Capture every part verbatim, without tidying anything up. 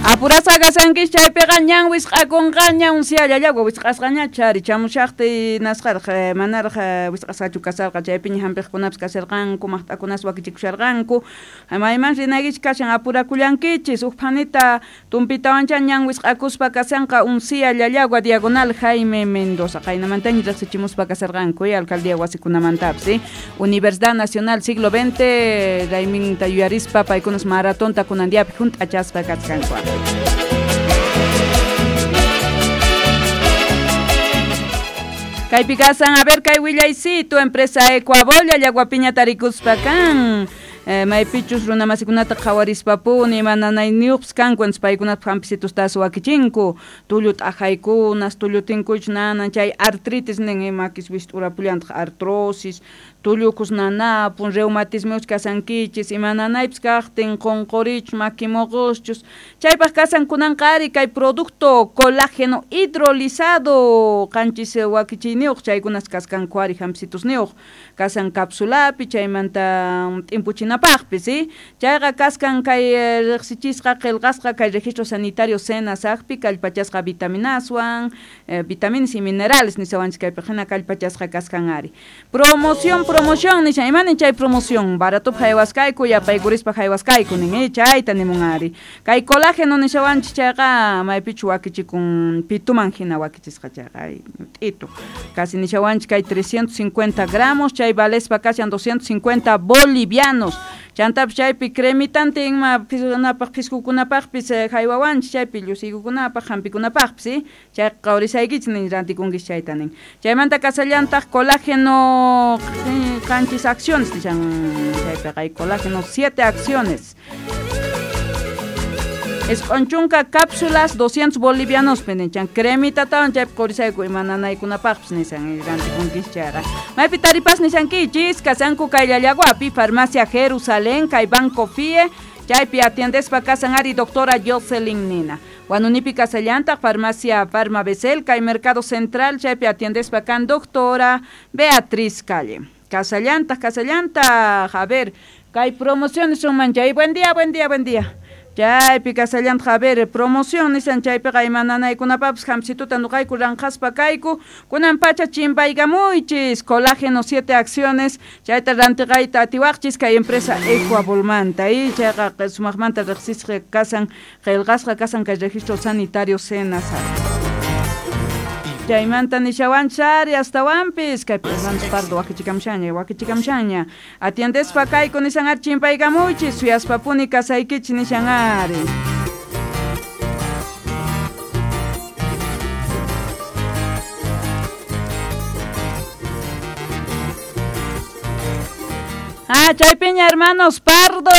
Apurasqa kasankichis chaypiqa ñan wisq'akunqaña Uncía Llallagua wisq'asqaña chari chamushaqti nasqaraq manaraq wisq'asqachu kasarqa chaypiña hampiqkunapis kasharqanku maqt'akunas wakichikusharqanku mayman rinaykichis kashan apurakullankichis huk phanita tumpitawancha ñan wisq'akuspa kashanqa Uncía Llallagua diagonal Jaime Mendoza qaynamantaña riqsichimuspa kasharqanku alcaldía wasikunamantapis Universidad Nacional Siglo veinte rayminta yuyarispa paykunas maratonta kunan diapi hunt'achaspa kachkanku. Kaypi kasan, a ver, kay willaycito, empresa Ecuabol, Llallaguapiña tarikuspa kan. Eh, maypichus runa masikunata qhawarispapuni mananayniyuqpis kanku entonces paykunata hampisitustas wakichinku tullu t'ajaykunas tullu tinkuych nanan chay artritis nin makis wist'urapullantaq artrosis tullukus nanapun reumatismiuch kasankichis ima nanaypis kaqtin qunqurichus makimuquschus chaypaq kasan kunanqa ari kay producto colágeno hidrolizado qanchis wakichiyniyuq chaykunas kaskanku ari hampitusniyuq kasan capsulapi chaymanta t'impuchinapaqpis ¿sí? Chayqa kaskan kay riqsichisqa qillqasqa kay registro sanitario SENASACpi kallpachasqa vitaminaswan eh, vitaminas y minerales nisawanchis kaypi hina kallpachasqa kaskan ari promoción promoción nishan imanin chay promoción baratup haywaskayku yapaykurispa haywaskayku nin eh, chayta nimun ari kay colágeno nishawanchis chayqa maypichu wakichikun pituman hina wakichisqa chayqa t'itu casi nishawanchis kay trescientos cincuenta gramos chay valespa kashan doscientos cincuenta bolivianos chantapis chaypi cremitante ima piskunapaq piskukunapaqpis haywawanchis chaypi llusiykukunapaq hampikunapaqpis ¿sí? Chay qawrisaykichis nin rantikunkis chayta nin chaymanta kasallantaq colágeno qanchis acciones nishan chaypiqa hay colágeno siete acciones Esq'unchunka cápsulas doscientos bolivianos penichan cremitatawan chaypi qurisayku ima nanaykunapaqpis nisan rantikunkis chayqa maypi taripas nishankichis kasanku kay Llallaguapi farmacia Jerusalén kay Banco F I E chaypi atiendespa kasan ari doctora Jocelyn Nina Huanunipi kasallantaq farmacia Farma Becel kay Mercado Central chaypi atiendespa kan doctora Beatriz Calle kasallantaq kasallantaq a ver kay promociones son manchay buen día buen día buen día chaypi kasallantaq a ver promoción nisan chaypiqa ima nanaykunapapis hampsituta nuqayku ranqaspa kayku kunan pacha chimpaykamuychis colágeno siete acciones chayta rantiqayta atiwaqchis kay empresa Ecuabolmanta y chayqa sumaqmanta riqsisqa kasan qillqasqa kasan kay registro sanitario SENASAC chaymanta nishawanchis ari astawanpis kay Hernández Pardo wakichikamshaña wakichikamshaña atiendespa kayku nishan ari chimpaykamuychis suyaspapuni kasaykichis nishan ari Ah, chaypiña hermanos Pardo,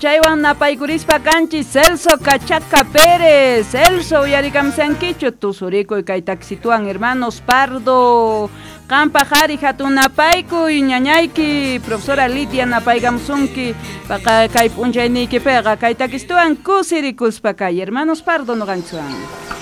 chaywan napaykurispa kanchis Celso Cachaca Pérez, Celso uyarikamsankichu tusurikuy kay taxituan hermanos Pardo, qanpaq ari hatun napaykuy ñañayki, profesora Lidia napaykamusunki, paqa kay p'unchayniykipiqa kay takistuan kusirikuspa kay hermanos Pardo noqanchikwan.